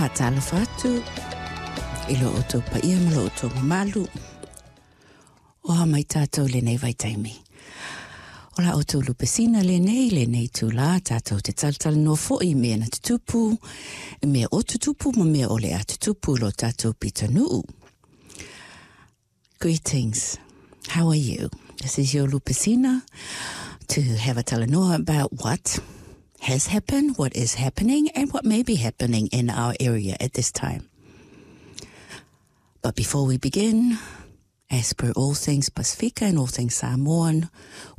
Faatalofa atu i lo outou paia ma lo outou mamalu. O a mai tātou lenei vaitaimi. O la outou lupesina lenei, lenei itulā, tātou te talatalanoa foi i mea na tutupu, i mea o tutupu ma mea o le a tutupu i lo tātou pitonuu. Greetings. How are you? This is your Lupesina to have a talanoa about what has happened, what is happening, and what may be happening in our area at this time. But before we begin, as per all things Pasifika and all things Samoan,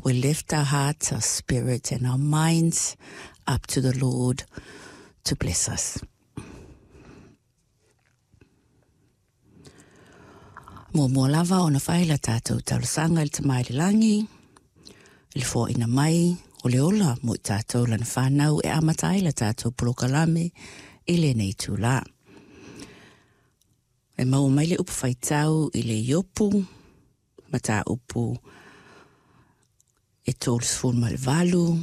we lift our hearts, our spirits, and our minds up to the Lord to bless us. Muamua lava ona fai la tātou talosaga i le Tama i le Lagi, i le foaiina mai o le ola mo i tātou lana whānau e amata ai la tātou polokalame i lenei itulā. E maua mai le upu faitau i le Iopu, mataupu e 38,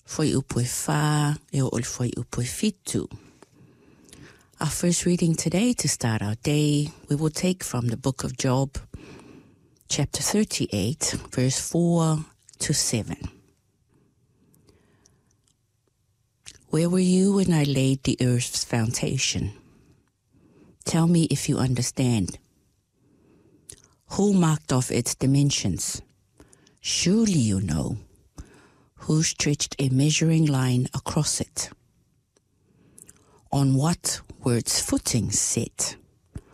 fuaiupu e 4, e oo i le fuaiupu e 7. Our first reading today to start our day, we will take from the book of Job, chapter 38, verse 4 to 7. Where were you when I laid the earth's foundation? Tell me if you understand. Who marked off its dimensions? Surely you know. Who stretched a measuring line across it? On what were its footings set?